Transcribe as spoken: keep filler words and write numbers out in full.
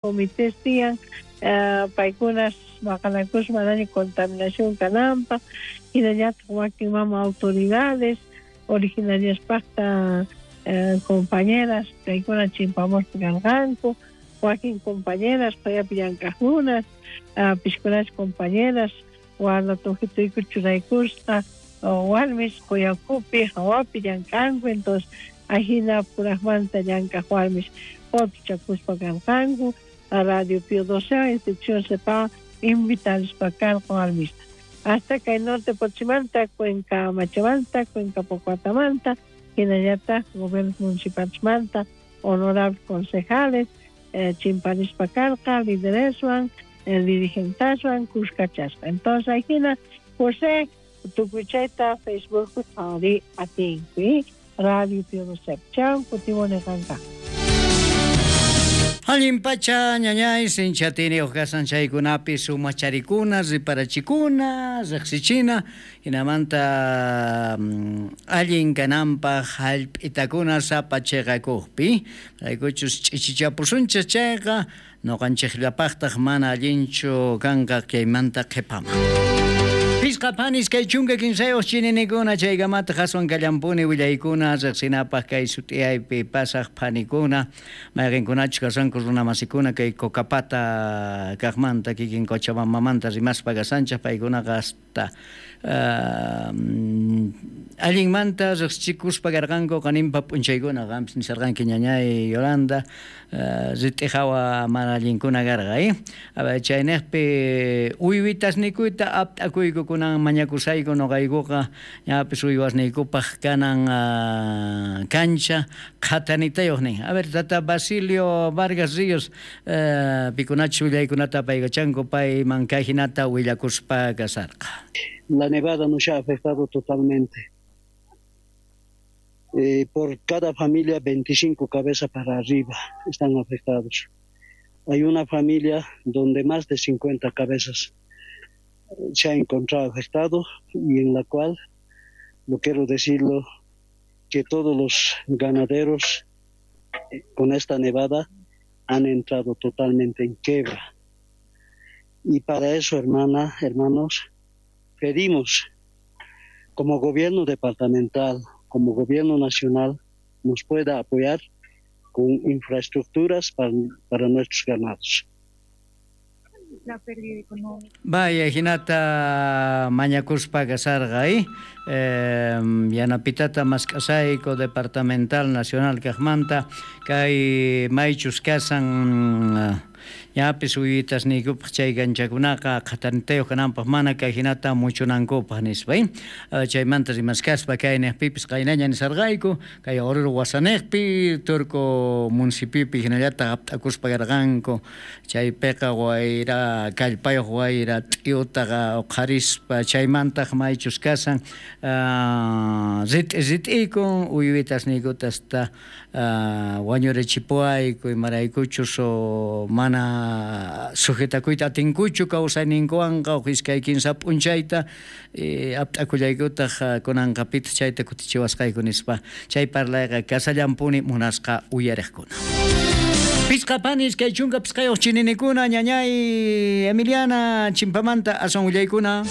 Comités tiyan paykunas maqanakuspa manaña contaminación kananpaq, hinallataq wakin mama autoridades originariaspaqta compañeras kaykuna chimpamuspa karqanku, wakin compañeras payapi llank'aqkunas, pishkunash compañeras warna tujituyku churaykusqa warmis quyakupi hawapi llank'anku. Entonces ajina puraqmanta llank'aq warmis qutuchakuspa karqanku. Radio Pío doce institución sepa invitarispa karqa warmista hasta kay Norte Potosímanta, Cuenca Machamanta, Cuenca Pocoatamanta, hinallataq gobiernos municipalesmanta honorables concejales eh, chimparispa karqa lidereswan, eh, dirigentaswan kuskachasqa. Entonces ajina, José, tukuy chayta Facebook qhawari atinki Radio Pío doce. Chau, kutimuni qanqa. Allin pacha, ñañay, sinchatini kasan chaykunapi sumacharikuna, riparachikuna, riqsichina, hinamanta allin kananpaq hallp'itakuna sapa chiqakuqpi, raykuchus ch'ichichapusunchis chayqa ñuqanchikllapaqtaq mana allinchu kanqa kaymanta qhipaman. Pisqa panis kay chunka kinsayuq chininikuna chaykamata qaswan kallampuni willaykuna riqsinapaq kay sut'iyaypi pasaq phanikuna mayqinkunachus kasanku runamasikuna kay Cocapata kaqmanta kikin Cochabambamanta rimaspa kasanchaq paykunaqa hasta allinmanta riqsichikuspa karqanku qaninpa p'unchaykuna. Qampis nisarqanki, ñañay Yolanda, rit'i hawa mana allinkuna karqa, eh chayniqpi uywitasnikuyta apt'akuyku kunan mañakusayku nuqaykuqa ñapis uywasniykupaq kanan kancha qhatanitayuq nin. A ver, tata Basilio Vargas Ríos, pikunachus willaykunata apaykachanku payman kayhinata willakuspa kasarqa. La nevada nos ha afectado totalmente. Eh, por cada familia veinticinco cabezas para arriba están afectados. Hay una familia donde más de cincuenta cabezas se ha encontrado afectado y en la cual, lo quiero decirlo, que todos los ganaderos con esta nevada han entrado totalmente en quiebra. Y para eso, hermana, hermanos, pedimos como gobierno departamental, como gobierno nacional, nos pueda apoyar con infraestructuras para, para nuestros ganados. La pérdida económica. Vaya, hinata mañakuspa kasarqa, eh? Eh, yanapitata mask'asayku departamental nacional kaqmanta kay maychus kasan ñapis uywitasniykupaq chay kanchakunaqa qhatanitayuq kananpaq mana kay hinata muchunankupaq nispa, eh? Chaymanta rimaskaspa kay niqpipis qaynaña nisarqayku kay Oruro wasaniqpi Turco municipiopi hinallataq apt'akuspa karqanku chaypiqa wayra kallpayuq wayra t'iyutaqa uqharispa chaymantaq maychus kasan rit'i rit'ikun uywitasniykuta hasta wañurichipuwayku imaraykuchus mana sujetakuyta atinkuchu kawsayninkuwanqa huk iskay kinsa p'unchayta apt'akullaykutaq kunanqa pitaq chayta kutichiwasqayku nispa chay parlayqa kasallampuni munasqa uyariqkuna. Pisqa panis kay chunka pisqayuq chininikuna ñañay Emiliana chimpamanta aswan willaykuna.